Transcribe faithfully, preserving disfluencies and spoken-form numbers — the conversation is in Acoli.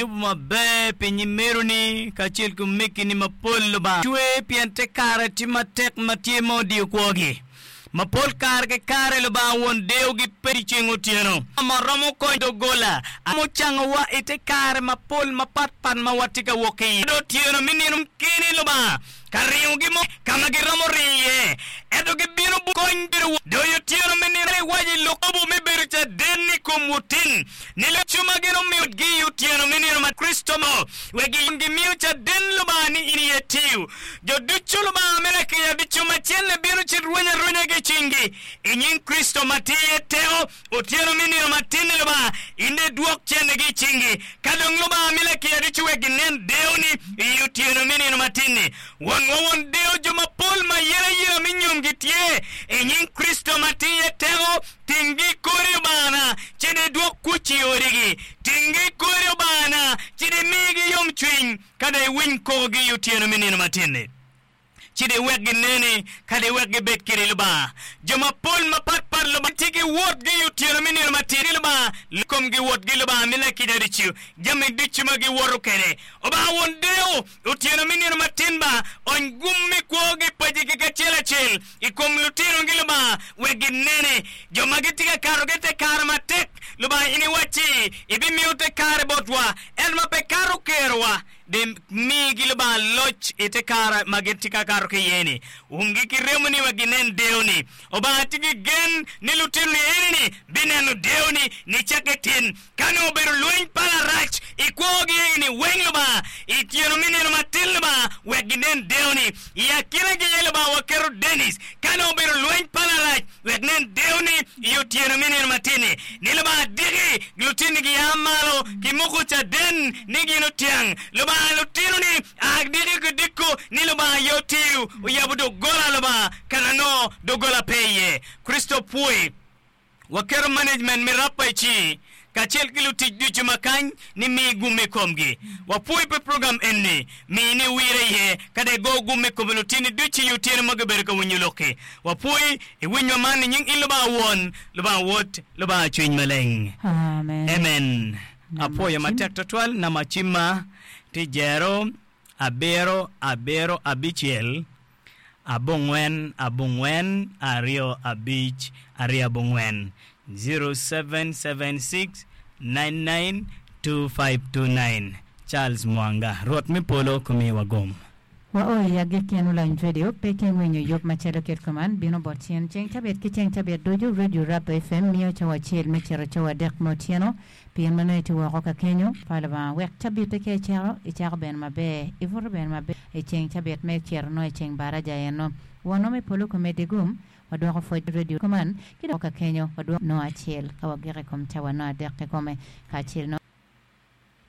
Yubu maber pi nyimeroni kacel ki omegini mapol Lubanga cwe pien te kare tye matek ma tye ma odiyo kwogi. Ma pol kare ki kare Lubanga won deyogi pe i ceng otyeno. Ma romo konyo doggola ma ocangowa i te kare mapol mapatpat ma watye ka wok ki iye. Otyeno me nino keni Lubanga ka ringogi mo ka ma giromo ringo iye, ento gibino kony bedo doyo otyeno me nino iwaco i lok lobo me bedo caden i kom wutin ni lucu ma gin omiyo gi i otyeno me nino ma Kricito mo wek gimiyo caden Lubanga ni in iye tiyo. Jo ducu Lubanga me lakica ducu ma celle bino cit rweny arwenya ki i cinggi i nying Kricito ma tye iye teko otyeno me nino matin-ni Lubanga in dong idwok cennegi i cingi. Ka dong Lubanga mi lakica ducu wek ginen deyoni i otyeno me nino matin-ni. Wonwa won deyo jo mapol ma yelayela me nyomgi tye i nying Kricito ma tye iye teko. Tinggi i kori Lubangana, ci dong idwok kuc i odigi. Tinggi i kori Lubangana, ci dong imigi yomcwiny, ka dong iwiny kokogi i otyeno me nino matin-ni. Ci dong iwek gineni, ka dong iwek gibed kedi Lubanga. Jo mapol mapatpat Lubanga tye ki wotgi i otyeno me nino matin-ni Lubanga komgi wotgi Lubanga mi lakica ducu jami ducu ma giwoto kwede. Obanga won deyo otyeno me nino matin ba ony gum me kwogi pacigi kacel acel i kom lutinogi Lubanga wek ginene. Jo ma gitye ka kato ki i te kare matek Lubanga in iwacci ibimiyo te kare botwa ento ma pe kato kerowa. Dong migi Lubanga loc i te kare ma gitye ka kato ki iye-ni. Umgi ki remoni wek ginen deyoni. Obanga tye ki gen ni lutinoni eni-ni bineno deyoni nicakke tin. Ka nongo obedo lweny pa larac i kwogi eni weng Lubanga, i tyeno me nino matin Lubanga wek ginen deyoni. I akinagi aye Lubanga waketo Dennis. Ka nongo obedo lweny pa larac wek nen deyoni i otyeno me nino matin-ni. Ni Lubanga diki lutinni gia malo ki moko caden ni gin otyang. Lubanga lutinoni a diki ki diko ni Lubanga aye otiyo oyabo doggola Lubanga kana nongo doggola pe iye. Kricito pwoyi. Waketo management me rapa i ci kacel ki lutic ducu ma kany ni mi gum i komgi. Wapwoyi pi program eni. Mi ni wire iye ka dong igo gum i kom lutini ducu i otyeno ma gubedo ka winyo lokki. Wapwoyi i winywa man i nying in Lubanga Won, Lubanga Wod, Lubanga Cwiny Maleng. Amen. Amen. Nama Apwoyo cim. matek twatwal nama cimma tye jero abiro abiro abicel abongwen abongwen aryo abic aryo abongwen, zero seven seven six nine nine two five two nine, Charles Mwanga, Rwot me polo kumiwa gum. Wao i agikki en Ulany Radio pe ki winyo yub macalo kit kuman bino bot cen ceng cabit ki ceng cabit ducu Radio Rap F M miyo cawa acel me cito cawa adek me otyeno pien ma nongo itye woko ka kenyo pa Lubanga wek cabitte ka icito icako bene maber ibuto bene maber i ceng cabit me cito nongo i ceng baraja eno wonwa me polo komedi gum wadwoko pwoc radio kuman ki dok ka kenyo wadwoko nongo acel ka wagiko i kom cawa nongo adek kikome kacel nongo